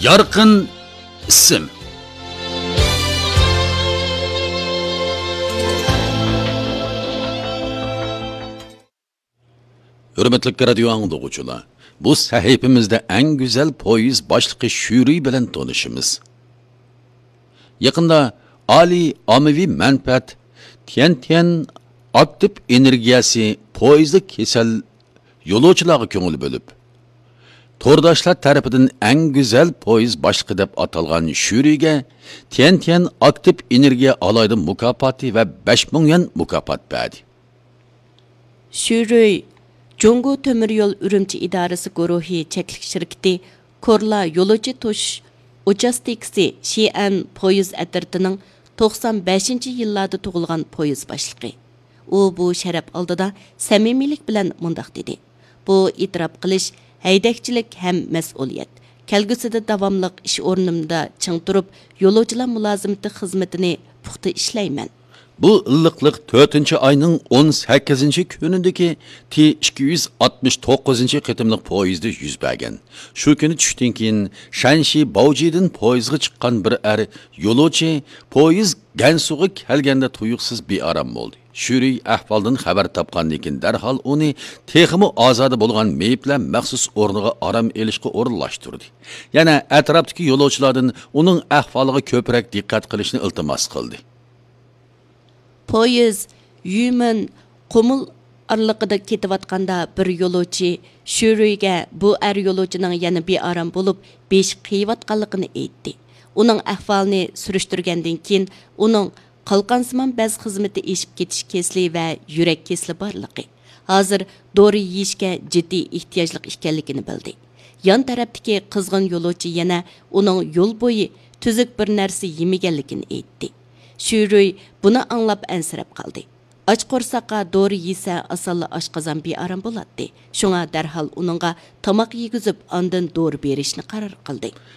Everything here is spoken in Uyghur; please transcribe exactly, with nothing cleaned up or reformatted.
يارقىن ئىسىم. ھۆرمەتلىك رادىيو ئاڭلىغۇچىلار، بۇ سەھىپىمىزدە ئەڭ گۈزەل پويىز باشلىقى شۈرۈي بىلەن تونۇشىمىز. يېقىندا ئالىي ئاممىۋى مەنپەئەت تيەنتيەن ئاكتىپ ئېنېرگىيەسى پويىزدا كېسەل يولۇچىلارغا كۆڭۈل بۆلۈپ، تورداشلار تەرىپىدىن ئەڭ گۈزەل پويىز باشلىقى دەپ ئاتالغان شۈرۈيگە تيەنتيەن ئاكتىپ ئېنېرگىيە ئالاھىدە مۇكاپاتى ۋە بەش مىڭ يۈەن مۇكاپات بەردى. شۈرۈي جۇڭگو تۆمۈر يول ئۈرۈمچى ئىدارىسى گۇرۇھى چەكلىك شىركىتى كورلا يولۇچى توشۇش ئۇچاستكىسى شىئەن پويىز ئەترىتىنىڭ توقسان بەشىنچى يىللاردا تۇغۇلغان پويىز باشلىقى. ئۇ بۇ شەرەپ ئالدىدا سەمىمىيلىك بىلەن مۇنداق دېدى: بۇ ئېتىراپ قىلىش، ھەيدەكچىلىك ھەم مەسئۇلىيەت. كەلگۈسىدە داۋاملىق ئىش ئورنۇمدا چىڭ تۇرۇپ، يولۇچىلار مۇلازىمىتى خىزمىتىنى پۇختا ئىشلەيمەن. بۇ ئىللىقلىق تۆتىنچى ئاينىڭ ئون سەككىزىنچى كۈنىدىكى تى ئىككى يۈز ئاتمىش توققۇزىنچى قېتىملىق پويىزدا يۈز بەرگەن. شۇ كۈنى چۈشتىن كېيىن شەنشى باۋجىدىن پويىزغا چىققان بىر ئەر يولۇچى پويىز گەنسۇغا كەلگەندە تۇيۇقسىز بىئارام بولدى. شۈرۈي ئەھۋالدىن خەۋەر تاپقاندىن كېيىن دەرھال ئۇنى تېخىمۇ ئازادە بولغان مېيىپلەر مەخسۇس ئورنىغا ئارام ئېلىشقا ئورۇنلاشتۇردى. يەنە ئەتراپتىكى يولۇچىلاردىن ئۇنىڭ ئەھۋالىغا كۆپرەك دىققەت قىلىشنى ئىلتىماس قىلدى. پويىز يۈمېن قۇمۇل ئارىلىقىدا كېتىۋاتقاندا، بىر يولۇچى شۈرۈيگە بۇ ئەر يولۇچىنىڭ يەنە بىئارام بولۇپ، بېشى قېيىۋاتقانلىقىنى ئېيتتى. ئۇنىڭ ئەھۋالىنى سۈرۈشتۈرگەندىن كېيىن، ئۇنىڭ قالقانسىمان بەز خىزمىتى ئېشىپ كېتىش كېسىلى ۋە يۈرەك كېسىلى بارلىقى، ھازىر دورا يېيىشكە جىددىي ئېھتىياجلىق ئىكەنلىكىنى بىلدى. يان تەرەپتىكى قىزغىن يولۇچى يەنە ئۇنىڭ يول بويى تۈزۈك بىر نەرسە يېمىگەنلىكىنى ئېيتتى. شۈرۈي بۇنى ئاڭلاپ ئەنسىرەپ قالدى. ئاچ قورساققا دورا يېسە، ئاسانلا ئاشقازان بىئارام بولاتتى. شۇڭا دەرھال ئۇنىڭغا تاماق يېگۈزۈپ، ئاندىن دورا بېرىشنى قارار قىلدى.